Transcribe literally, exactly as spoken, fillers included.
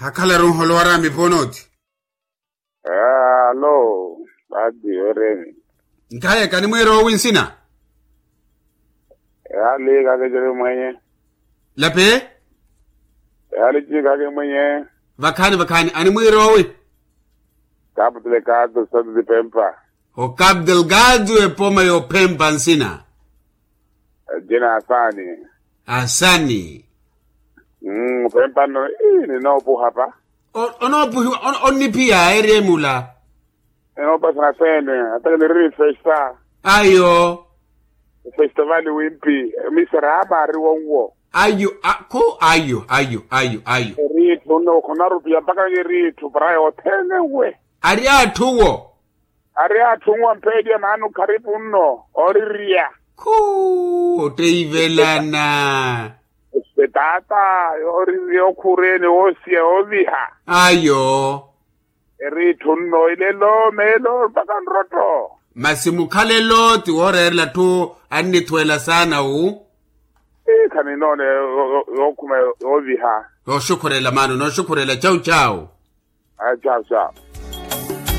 Akhalaru nholo wara miponothi. Alo, pati oreni. Nkhaye kanimwiira owi nsina? Yali kakecele mwenye. Lape? Yali ci kakemwenye. Vakhani vakhani animwiira owi? Kaputele kato sati pempa. Okaputele kato epoma yophempa nsina? Jina asani. Asani. Mmm pempa no ii ninoopuha pa. Onoopuhiwa onniphiya eri emula. Enoopasana sene. Ataka niriri festa. Ayo. Festa vali wimpi. Misera ama ari wonwo. Ayo akhu ayo ayo ayo ayo. Eri itthu nno khuna rupiya mpaka nge eri itthu para yothene nwe. Ari atthu wo. Ari atthu nwa mpeeliya maana okharipu nno orirya. Khuu otteivelana. Etaata yooririya okhureene woosiya yooviha. Ayo. Eri itthu nno ilelo meelo mpaka nrotto. Masi mukhalelo ti wooreerela atthu annithuwela saana wu. Ii khaninoona yookhuma yooviha. Nooxukhurela maana nooxukhurela chau chau. Aya chau chau.